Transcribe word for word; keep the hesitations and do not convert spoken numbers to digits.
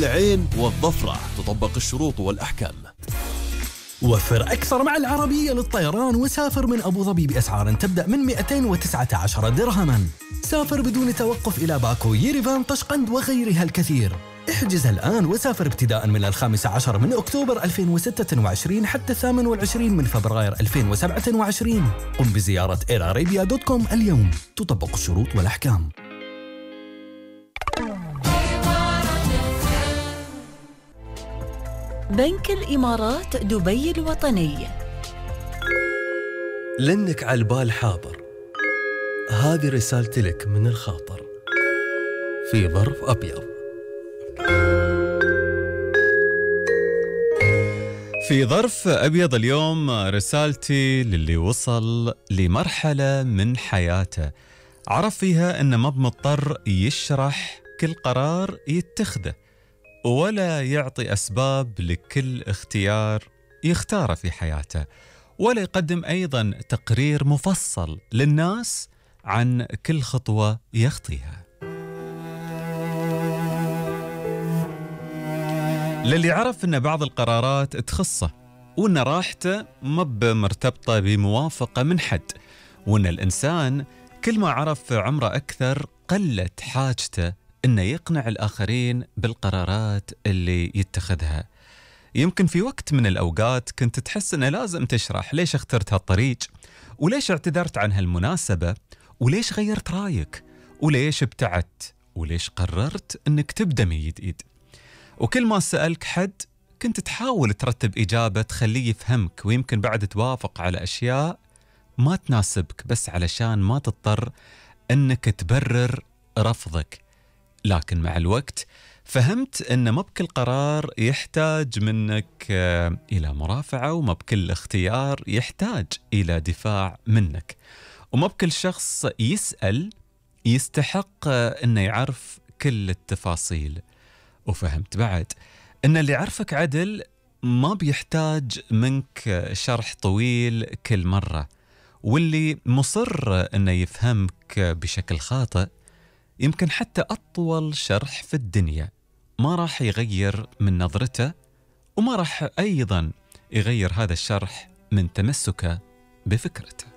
العين والظفرة. تطبق الشروط والأحكام. وفر أكثر مع العربية للطيران وسافر من أبو ظبي بأسعار تبدأ من مئتين وتسعة عشر درهما. سافر بدون توقف إلى باكو، ييريفان، طشقند وغيرها الكثير. احجز الآن وسافر ابتداء من الخامس عشر من أكتوبر ألفين وستة وعشرين حتى الثامن والعشرين من فبراير ألفين وسبعة وعشرين. قم بزيارة اير ارابيا دوت كوم اليوم. تطبق الشروط والأحكام. بنك الإمارات دبي الوطني. لأنك على البال حاضر، هذه رسالتي لك من الخاطر في ظرف أبيض. في ظرف أبيض اليوم رسالتي للي وصل لمرحلة من حياته عرف فيها أنه ما بمضطر يشرح كل قرار يتخذه، ولا يعطي أسباب لكل اختيار يختاره في حياته، ولا يقدم أيضا تقرير مفصل للناس عن كل خطوة يخطيها. للي عرف أن بعض القرارات تخصه، وأن راحته ما بمرتبطة بموافقة من حد، وأن الإنسان كل ما عرف عمره أكثر قلت حاجته أنه يقنع الآخرين بالقرارات اللي يتخذها. يمكن في وقت من الأوقات كنت تحس أنه لازم تشرح ليش اخترت هالطريق، وليش اعتذرت عن هالمناسبة، وليش غيرت رايك، وليش ابتعدت، وليش قررت أنك تبدأ من جديد. وكل ما سألك حد كنت تحاول ترتب إجابة تخليه يفهمك، ويمكن بعد توافق على أشياء ما تناسبك بس علشان ما تضطر أنك تبرر رفضك. لكن مع الوقت فهمت أن ما بكل قرار يحتاج منك إلى مرافعة، وما بكل اختيار يحتاج إلى دفاع منك، وما بكل شخص يسأل يستحق أنه يعرف كل التفاصيل. وفهمت بعد أن اللي يعرفك عدل ما بيحتاج منك شرح طويل كل مرة، واللي مصر أنه يفهمك بشكل خاطئ يمكن حتى أطول شرح في الدنيا ما راح يغير من نظرته، وما راح أيضا يغير هذا الشرح من تمسكه بفكرته.